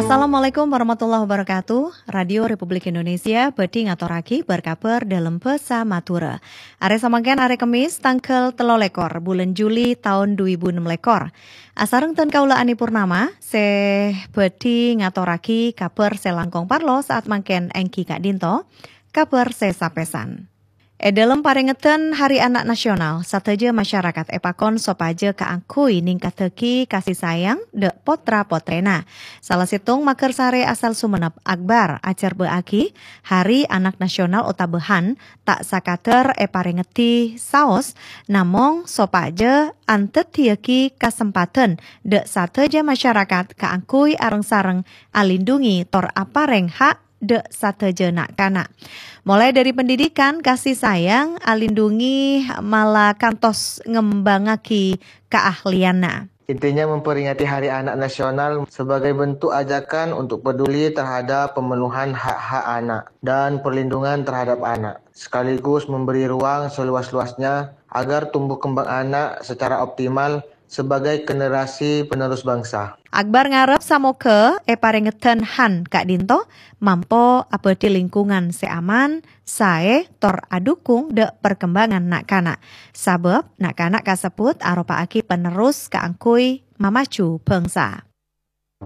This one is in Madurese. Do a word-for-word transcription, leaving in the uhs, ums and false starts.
Assalamualaikum warahmatullahi wabarakatuh. Radio Republik Indonesia bhâdhi ngatorraghi bâr-kabhâr dâlem bhâsa Madhurâ. Arè samangkèn arè Kemmis, tangghâl tello lèkor bulân Juli taon dhu èbu ennem lèkor. Asareng dân kaulâ Ani Purnama, sè bhâdhi ngatorraghi kabhâr sè langkong parlo saat mangkèn èngghi ka'dinto, kabhâr sè sapèsan. È dâlem parèngedhân Hari Anak Nasional, sadhâjâ masyarakat èpakon sopajâ kaangghuy ningkaddhâghi kasih sayang dâ' potra-potrèna. Sala sèttong maghârsarè asal Songennep, Akbar, ajhârbâ'âghi Hari Anak Nasional otabâ HAN ta' sakadhâr èparèngedhi saos, namong sopajâ andhâddhiyâghi kasempadhân dâ' sadhâjâ masyarakat kaangghuy areng-sareng alindhungi tor aparèng ha' dâ' sadhâjâ na'-kana'. Molaè dâri pendidikan, kasih sayang, alindhungi, mala kantos ngembhângaghi kaahliyanna. Intinya memperingati Hari Anak Nasional sebagai bentuk ajakan untuk peduli terhadap pemenuhan hak-hak anak dan perlindungan terhadap anak, sekaligus memberi ruang seluas-luasnya agar tumbuh kembang anak secara optimal sebagai generasi penerus bangsa. Akbar ngarep samoghâ è parèngedhân HAN ka'dinto mampo abâdhi lingkungan sè aman, saè, tor adhukung dâ' parkembangan na'-kana'. Sabâb na'-kana' kasebbhut aropa'aghi penerus kaangghuy mamaju bhângsa.